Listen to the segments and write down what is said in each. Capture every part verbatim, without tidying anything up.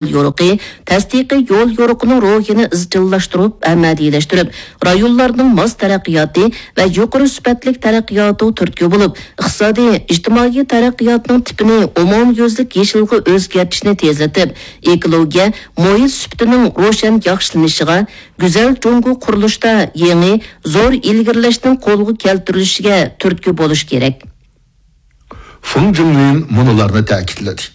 يورۇقى، تەستىقىي يول يورۇقىنىڭ روھىنى ئىزچىللاشتۇرۇپ ئەمەلىيلەشتۈرۈپ، رايونلارنىڭ ماس تەرەققىياتى ۋە يۇقىرى سۈپەتلىك تەرەققىياتىغا تۈرتكە بولۇپ، ئىقتىسادىي، ئىجتىمائىي تەرەققىياتنىڭ تىپىنى ئومۇميۈزلۈك يېشىلغا ئۆزگەرتىشنى تېزلىتىپ، ئېكولوگىيە، مۇھىت سۈپىتىنىڭ روشەن ياخشىلىنىشىغا، گۈزەل جۇڭگو قۇرۇلۇشىدا يېڭى، زور ئىلگىرىلەشنىڭ قولغا كەلتۈرۈلۈشىگە تۈرتكە بولۇش كېرەك. فېڭ جىڭلىن مۇنۇلارنى تەكىتلىدى.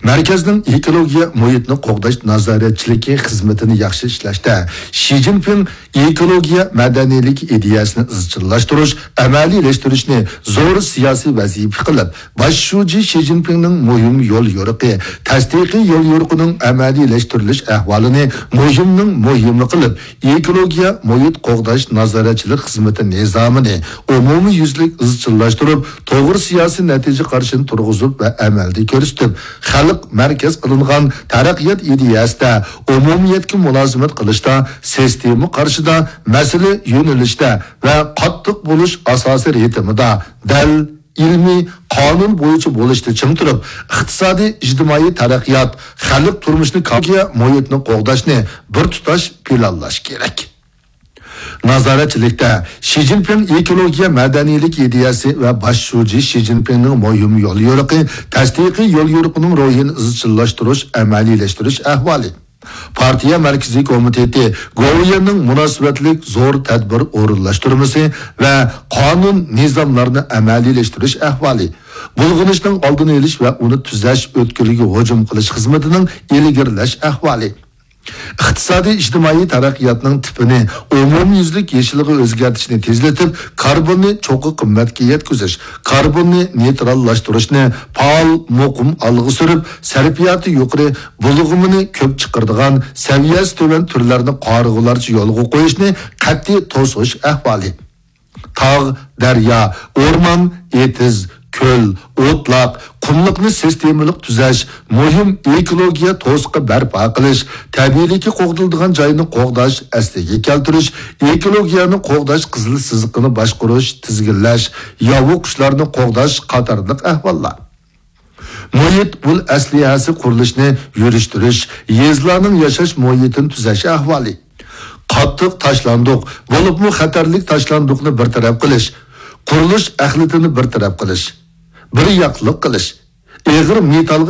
مەركەزنىڭ ئېكولوگىيە مۇھىتنى قوغداش نازارەتچىلىكى خىزمىتىنى ياخشى ئىشلەشتە شى جىنپىڭ ئېكولوگىيە مەدەنىيلىكى ئىدىيەسىنى ئىزچىللاشتۇرۇش، ئەمەلىيلەشتۈرۈشنى زور سىياسىي ۋەزىپە قىلىپ، باش شۇجى شى جىنپىڭنىڭ مۇھىم يول يورۇقى، تەستىقىي يول يورۇقىنىڭ ئەمەلىيلەشتۈرۈلۈش ئەھۋالىنى مۇھىمنىڭ مۇھىمى قىلىپ، ئېكولوگىيە مۇھىت قوغداش نازارەتچىلىك خىزمىتى نىزامىنى ئومۇميۈزلۈك ئىزچىللاشتۇرۇپ، توغرا سىياسىي نەتىجە قارىشىنى تۇرغۇزۇپ ۋە ئەمەلدە كۆرسىتىپ، خەلق مەركەز قىلىنغان تەرەققىيات ئىدىيەسىدە ئومۇمىيەتكە مۇلازىمەت قىلىشتا، سىستېما قارىشىدا، مەسىلە يۆنىلىشتە ۋە قاتتىق بولۇش ئاساسىي رىتىمىدا دەل، ئىلمىي، قانۇن بويىچە بولۇشتا چىڭ تۇرۇپ، ئىقتىسادىي، ئىجتىمائىي تەرەققىيات، خەلق تۇرمۇشىنى كاپالەتلەش، مۇھىتنى قوغداشنى بىر تۇتاش پىلانلاش كېرەك. نازارەتچىلىكتە شى جىنپىڭ ئېكولوگىيە مەدەنىيلىك ئىدىيەسى ۋە باش شۇجى شى جىنپىڭنىڭ مۇھىم يول يورۇقى، تەستىقىي يول يورۇقىنىڭ روھىنى ئىزچىللاشتۇرۇش، ئەمەلىيلەشتۈرۈش ئەھۋالى. پارتىيە مەركىزىي كومىتېتى گوۋۇيۈەننىڭ مۇناسىۋەتلىك زور تەدبىر ئورۇنلاشتۇرمىسى ۋە قانۇن نىزاملارنى ئەمەلىيلەشتۈرۈش ئەھۋالى، بۇلغىنىشنىڭ ئالدىنى ئېلىش ۋە ئۇنى تۈزەش، ئۆتكىلىگە ھۇجۇم قىلىش خىزمىتىنىڭ ئىلگىرىلەش ئەھۋالى. ئىقتىسادىي ئىجتىمائىي تەرەققىياتنىڭ تىپىنى ئومۇميۈزلۈك يېشىلغا ئۆزگەرتىشنى تېزلىتىپ، كاربوننى چوققا قىممەتكە يەتكۈزۈش، كاربوننى نېيتراللاشتۇرۇشنى پائال، مۇقىم ئالغا سۈرۈپ، سەرپىياتى يۇقىرى، بۇلغىمىنى كۆپ چىقىرىدىغان، سەۋىيەسى تۆۋەن تۈرلەرنى قارىغۇلارچە يولغا قويۇشنى قەتئىي توسۇش ئەھۋالى. تاغ، دەريا، ئورمان، ئېتىز، كۆل، ئوتلاق، قۇملۇقنى سىستېمىلىق تۈزەش، مۇھىم ئېكولوگىيە توسۇقى بەرپا قىلىش، تەبىئىيلىكى قوغدىلىدىغان جاينى قوغداش، ئەسلىگە كەلتۈرۈش، ئېكولوگىيەنى قوغداش قىزىل سىزىقىنى باشقۇرۇش، تىزگىنلەش، ياۋا قۇشلارنى قوغداش قاتارلىق ئەھۋاللار. مۇھىت ئۇل ئەسلىھەسى قۇرۇلۇشىنى يۈرۈشتۈرۈش، يېزىلارنىڭ ياشاش مۇھىتىنى تۈزەش ئەھۋالى. قاتتىق تاشلاندۇق، بولۇپمۇ خەتەرلىك تاشلاندۇقنى بىر تەرەپ قىلىش، قۇرۇلۇش ئەخلىتىنى بىر تەرەپ قىلىش، بىر ياقلىق قىلىش، ئېغىر مېتال